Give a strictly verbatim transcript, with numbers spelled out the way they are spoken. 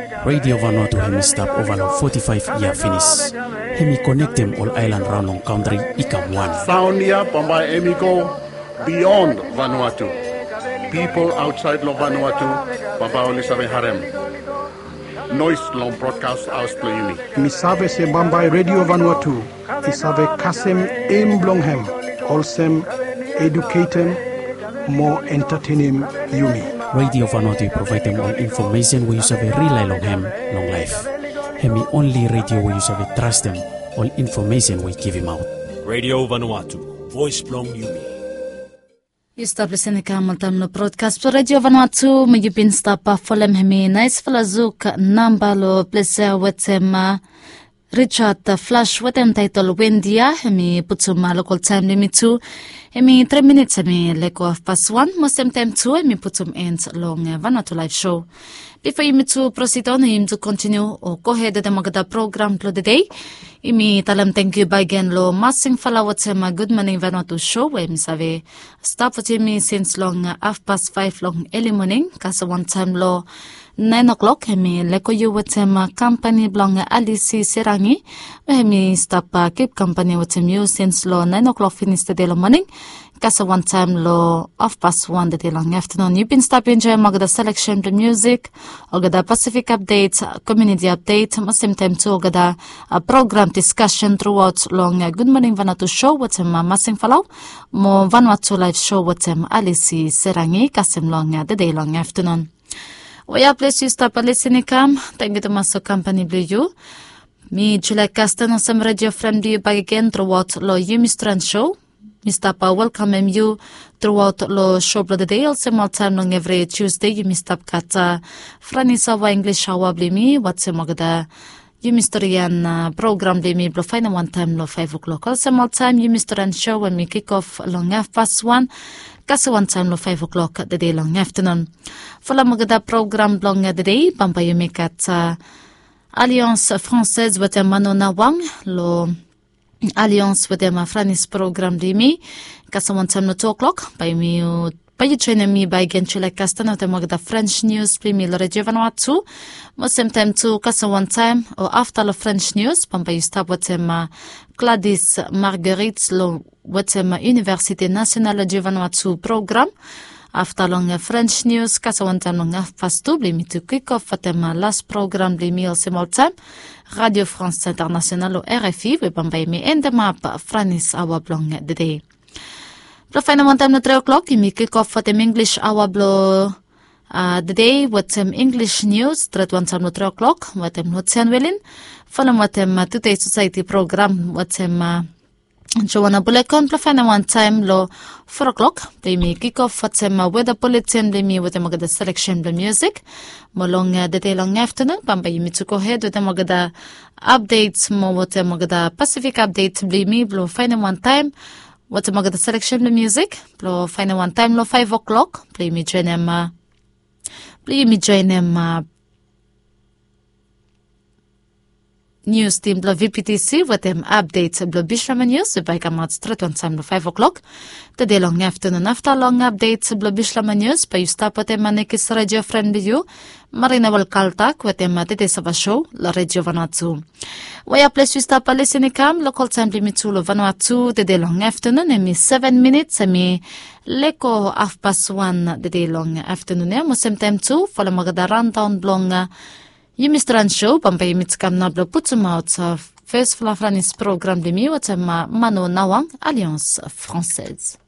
Radio Vanuatu hemi stap ova long foti faef yia finis. Hemi konektem ol aelan raon long kantri i kam wan. Saon ya bambae hemi go bion Vanuatu. Pipol aotsaed long Vanuatu bambae oli save harem noes long brodkas haos blong yumi. Mi save se bambae Radio Vanuatu i save kasem em blong hem olsem eduketem mo entatenem yumi. Radio Vanuatu i provaedem ol infomesen we yu save rilae long hem long laef. Hemi onli radio we yu save trastem ol infomesen we i givimaot. Radio Vanuatu, voes blong yumi. Yu stap lisin i kam oltaem long brodkas blong Radio Vanuatu, mo yu bin stap folem hemi naesfala zuk namba long ples ya wetem Richard Flash wetem taetol Wendia. Hemi putum lokol taem blong yumi tu, hemi tri minits hemi lego hafpas wan, mo semtaem tu hemi putum en long Vanuatu Laef Sho. Bifo yumi tu prosid on, yumi tu kontiniu o gohed wetem olgeta program blong tede, yumi talem tangkiu bakegen long Masing Fala wetem Gud Moning Vanuatu Sho we hemi save stap wetem yumi sins long hafpas faef long eli moning, kasem wantaem long naen o'klok hemi lego yu wetem kampani blong Alisi Serangi, we hemi stap kip kampani wetem yu sins long naen o'klok finis tede long moning, kasem wantaem long hafpas wan tede long aftanun. Yu bin stap enjoem olgeta seleksen blong musik, olgeta Pasifik apdet, komuniti apdet, mo semtaem tu olgeta program diskasen truaot long Gud Moning Vanuatu Sho wetem Masing Fala, mo Vanuatu Laef Sho wetem Alisi Serangi, kasem long tede long aftanun. Wea ples yu stap lisin i kam, tangkiu tumas long kampani blong yu. Mi Julia Kasten olsem redio fren blong yu bakegen truaot long Yumi Stren Sho. Mi stap welkamem yu truaot long sho blong tede, olsem oltaem long evri Tusde yumi stap gat Franis aoa, Inglis aoa blong yumi, wetem olgeta yumi storian program blong yumi blong faenem wantaem long faef o'klok. Olsem oltaem Yumi Stren Sho we mi kikof long hafpas wan, kasem wantaem long faef o'klok tede long aftanun. Folem olgeta program blong tede, bambae yumi gat Alliance Française wetem Mano Nawang long Alliance wetem Franis program blong yumi, kasem wantaem long tu o'klok, bae yumi, bae yu joenem mi bakegen Julia Kasten wetem olgeta French nius blong yumi long Radio Vanuatu. Mo semtaem tu kasem wantaem o afta long French nius, bambae yu stap wetem Gladys Marguerite long wetem Université Nationale Radio Vanuatu program. Afta long French nius, kasem wantaem long hafpas tu, blong yumi tu kikof wetem las program blong yumi olsem oltaem, Radio France Internationale o R F I, we bambae yumi endemap Franis aoa blong tede. Blong faenem wantaem long tri o'klok yumi kikof wetem Inglis aoa blong tede wetem Inglis nius, stret wantaem long tri o'klok wetem Lotian Welin. Folem wetem Tude Sosaeti program wetem Joana Bulekon, blong faenem wantaem long fo o'klok blong yumi kikof wetem weda buletin blong yumi wetem olgeta seleksen blong musik. Mo long tede long aftanun, bambae yumi tu gohed wetem olgeta apdet mo wetem olgeta Pasifik apdet blong yumi blong faenem wantaem wetem olgeta seleksen blong musik, blong faenem wantaem long faef o'klok blong yumi joenem, blong yumi joenem nius tim blong V P T C wetem apdet blong Bislama Nius we bae i kamaot stret wantaem long faef o'klok tede long aftanun. Afta long apdet blong Bislama Nius, bae yu stap wetem Anekis redio fren blong yu, Marina Welkaltak, wetem Tede Sava Sho long Radio Vanuatu. Wea ples yu stap lisin i kam, lokol taem blong yumi tu long Vanuatu tede long aftanun hemi seven minits hemi lego hafpas wan tede long aftanun ya. Mo semtaem tu folem olgeta raondaon blong Yumi Stren Sho, bambae yumi tu kam nao blong putumaot fesfala Franis program blong yumi wetem Mano Nawang, Alliance Française.